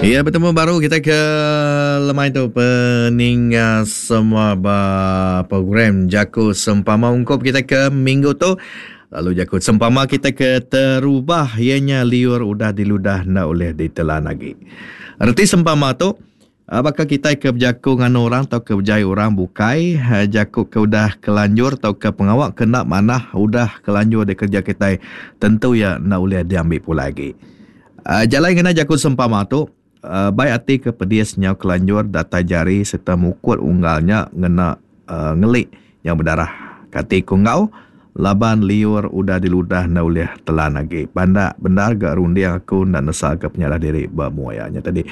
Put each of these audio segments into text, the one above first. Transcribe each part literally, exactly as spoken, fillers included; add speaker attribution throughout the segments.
Speaker 1: Ya, bertemu baru kita ke lemai tu peninga semua ba program Jaku Sempama ungkup kita ke minggu tu. Lalu jaku sempama kita ke terubah ianya liur udah diludah enda ulih ditelan agi. Reti sempama tu, baka kitai ke bejaku nganu orang tauka bejai orang bukai, jaku ke udah kelanjur tauka pengawa ke enda manah udah kelanjur dikereja kitai tentu iya enda ulih diambi pulai agi. Jalai ngena jaku sempama tu, bai ati ke pedis nyau kelanjur datai jari sereta mukut unggal nya ngena ngeli nyau bedarah. Kati ku enggau laban liur udah diludah enda ulih telan agi. Pandak bendar ga runding aku enda nesalka penyalah diri ba mua iya nya tadi.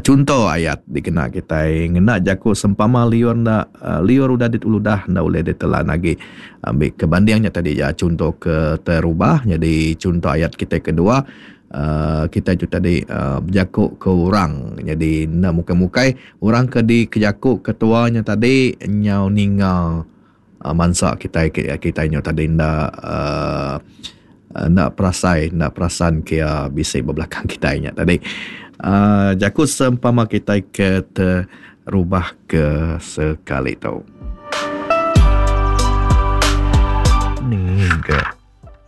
Speaker 1: Chunto ayat dikena kitai ngena jaku sempama liur enda liur udah diludah enda ulih ditelan agi. Ambi ke banding nya tadi ja chunto ke terubah nyadi chunto ayat kitai kedua uhh kitai tu tadi uhh bejaku ke orang nyadi enda mukai-mukai orang ke dikejaku ketua nya tadi nyau ninga mansa kitai kitai nyau tadi enda uhh enda perasai enda perasan ke iya bisi ba belakang kitai nya tadi. uhh Jaku sempama kitai ke terubah ke sekali tu. Ni ga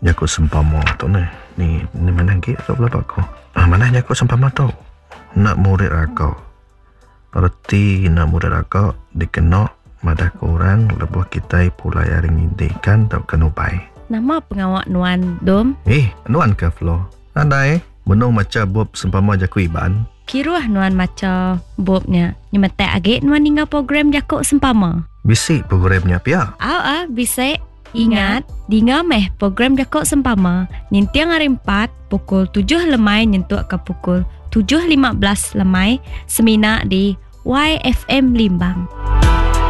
Speaker 1: jaku sempama tu neh. Ni manah agi tu pelaba ku. Manah jaku sempama tu. Enda murid raka. Reti enda murid raka dikena madah ke orang lebuh kitai pulai ari nginti ikan tauka nubai.
Speaker 2: Nama pengawa nuan, Dom?
Speaker 1: Eh, nuan ke Flo? Nadai. Benung macha bup sempama jaku Iban.
Speaker 2: Kiruh nuan macha bup nya. Nyemetak agi nuan ninga program jaku sempama.
Speaker 1: Bisi program nya pia?
Speaker 2: Au ah, bisi. Ingat, dinga meh program jaku sempama ninting hari empat pukul tujuh lemai nyentuk ke pukul tujuh lima belas lemai semina di Y F M Limbang.